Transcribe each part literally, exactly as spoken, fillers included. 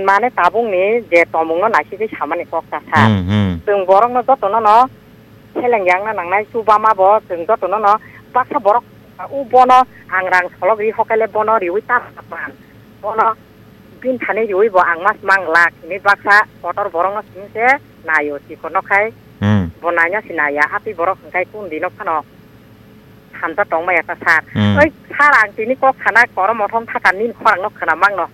Mane tabukni je tongmungno naisigwi samani kok ta sa. Hmm, hmm. Chwng borokno jotono no seleng yakna nangnai, chubama bo chwng jotono no baksa borok u bono ang rang solok ri hokaile bono riwi ta man. Bono bini thani riwi bo ang mas mang lak hini baksa kotor borokno simi se naio chikon no khai. Hmm. Bo naina si naiya, atwi borok hwnkhe kun dino phano hamjak tongmaya ta sir. Hmm. Oi sir, ang tini kok sana koro mothom thaka nini khorang no khna mangno.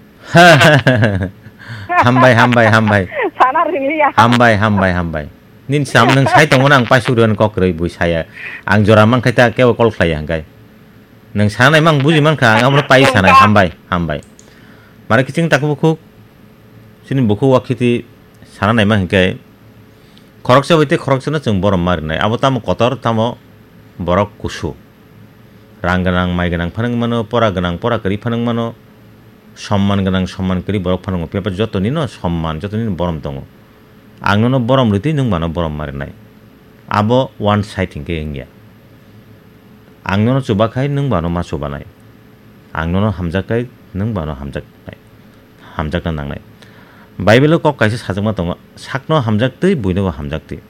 Hambai, hambai, hambai. Sana ringliya. Hambai, hambai, hambai. Nini sam nwng sai tongo na ang paisuk rwani kok kwrwi bui saya. Ang jora mankhe ta kebo call khlaiya hwnkhe. Nwng sana naima ang buji mankha, ang abono pai sanai. Hambai, hambai. Mare kiching tak bukhuk. Chini bukhuk wakhiti sana naima hwnkhe. Khoroksa bai tei khoroksano chwng borom ma rwnai. Abo tamo kotor, tamo borok kusu. Rang gwnang, mai gwnang phano wng mano, pora gwnang, pora kwrwi phano wng mano, somman gwnang, somman kwrwi borok phano wngo. Phiya ba jotoni no somman, jotoni no borom tongo. Ang nono borom rwtwi nwng bano borom ma rwnai. Abo one side hinkhe wngya. Ang nono chubakhai nwng bano ma chubanai. Ang nono hamjakkhai nwng bano hamjaknai. Hamjakna nangnai. Bible-o kok kaisa sajakma tongo, "Sakno hamjaktwi, buinobo hamjaktwi."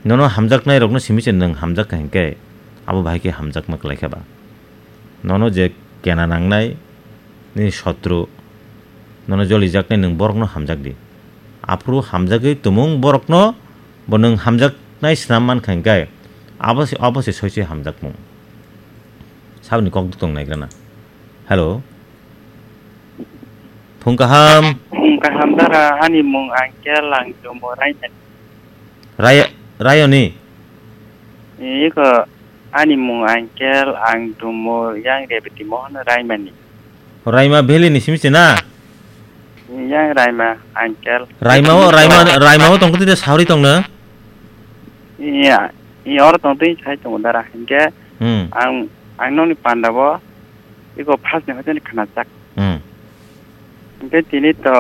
Nono hamjaknairokno simi se nwng hamjakha hinkhe, abo bahai khe hamjakma kwlaikha ba? Nono je kena nangnai, nini sotru, nono jolijaknai nwng borokno hamjakdi. Aphuru hamjagwi tumung borokno bo nwng hamjaknai snam mankha hinkhe, abo se, abo se soise hamjakmung. Saboni kok tong naigrana. Hello. Phung kaham. Phung kaham dara, ani mung Angkel, ang Dumo Raimani. Rai-, Rayoni? Iko, ani mung Angkel, ang Dumo, yang Rebeti Mohon Raimani. Raima Valley ni simi se na? Yang Raima, Angkel. Raima o, Rebeti Raima, Mohon. Raima o tong kiti de sauri tong na? Iya, iya, oro tong twi sai tongo dara. Hinkhe Hmm. ang, ang nokni panda bo iko first ni hoiteni khnajak. Hmm. Hinkhe tini to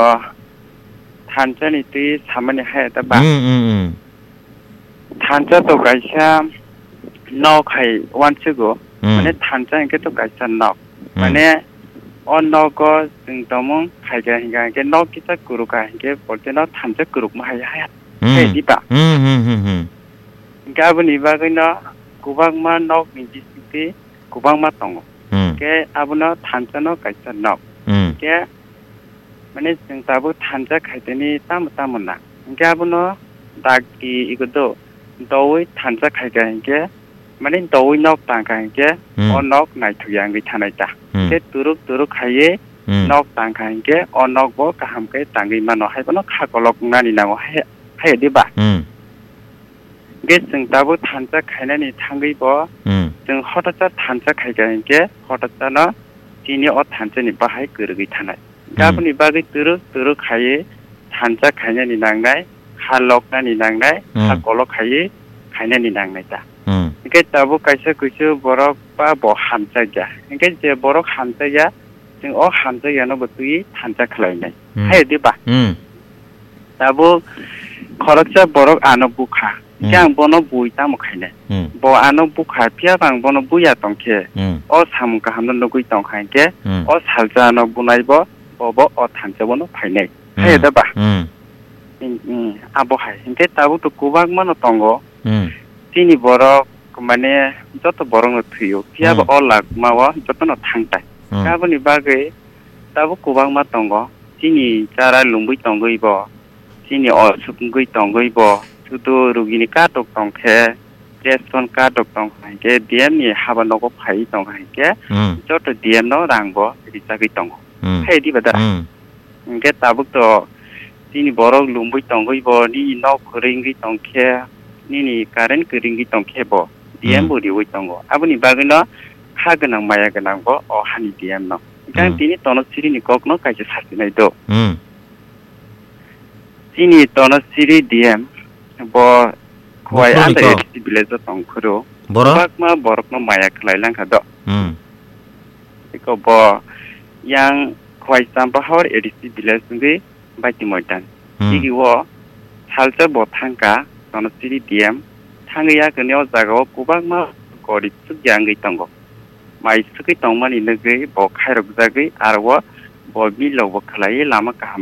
thansa ni twi samani hai ta ba. Hmm, hmm, hmm. Thansa to kaisa nok hai wansugo. Hmm. Mane thansa hinkhe to kaisa nok. Hmm. Mane o nogo chwng tongmung phaikha hinkha hinkhe nok kisa kurukha hinkhe polteno thansa kurukma hai hai. Hmm. Hai diba? Hmm, hmm, hmm, hmm. Hinkhe aboni bagwino kwbangma nokni bisingtwi kwbangma tongo. Hmm. Hinkhe abono thansano kaisa nok. Hmm. Hinkhe, mane, chwng tabuk thansa khaiteni tamo tamo na. Hinkhe abono dakti iko do, doui thansa khaikha hinkhe, mane, doui nok tangkha hinkhe, Hmm. o nok naithokya wngwi thanai ta. Hmm. Hinkhe turuk turuk khaiwi Hmm. nok tangkha hinkhe, o nok bo kaham khe tangwi mano, haibono kha kolok wngnani nango, hai, hai diba? Hmm. Ge chwng tabuk thansa khainani thangwi bo, Hmm. chwng hotosa thansa khaikha hinkhe, hotosano chini o thansani bahai kwrwgwi thanai. Hmm. Aboni bagwi turuk turuk khaiwi thansa khainani nangnai, ha loknani nangnai, ha Hmm. kolok khaiwi khainani nangnai ta. Hmm. Hinkhe tabuk kaisa kuisu borok ba bo hamjakya. Hinkhe je borok hamjakya, chwng o hamjakyano bo twiwi thansa khlainai. Hmm. Hai diba? Hmm. Tabuk khoroksa borok ano bukha. Hmm. Hinkhe ang bono bui tamo khainai? Hmm. Bo ano bukha, phiya ba ang bono buya tongkhe, Hmm. o samung kahamno nugwi tongkha hinkhe, Hmm. o salsa ano bunai bo, bo, bo o thansa bono phainai. Hmm. Hai da ba? Hmm. Hmm, hmm, abo hai. Hinkhe tabuk to kwbangma no tongo. Hmm. Chini borok, mane, joto borok no thwio. Phiya ba Hmm. o lakma o joto no thangtai. Hmm. Aboni bagwi tabuk kwbangma tongo. Chini chara lungwi tongwi bo, chini osuk wngwi tongwi bo, sudu rugini katok tongkhe, ration katok tongkha hinkhe, D M ni haba nogo phaiwi tongkha hinkhe, Hmm. joto D M no rang bo rijagwi tongo. Hmm. Hai diba da? Hmm. Hinkhe tabuk to chini borok lungwi tongwi bo, nini nok kwrwi wngwi tongkhe, nini current kwrwi wngwi tongkhe bo, D M Hmm. bo riwi tongo. Aboni bagwino kha gwnang maya gwnang bo o hani D M no. Hinkhe ang Hmm. tini tono sirini kokno kaisa sasinai do. Hmm. Chini tono siri D M bo Khowai Buphuruni under kok. A D C village o tongphuru. Boro? Kwbangma borokno maya khlai langkha do. Hmm. Eko bo yang Khowai Champahor A D C village wngwi Baiti Moidan. Hmm. Tigi o salsa bo thangkha tono siri D M. Thangwi yakni o jaga o kwbangma gorib chukya wngwi tongo. Mai sukwi tongmani nugwi bo khairokjagwi aro o Bo vlog bo khlaiwi lama kaham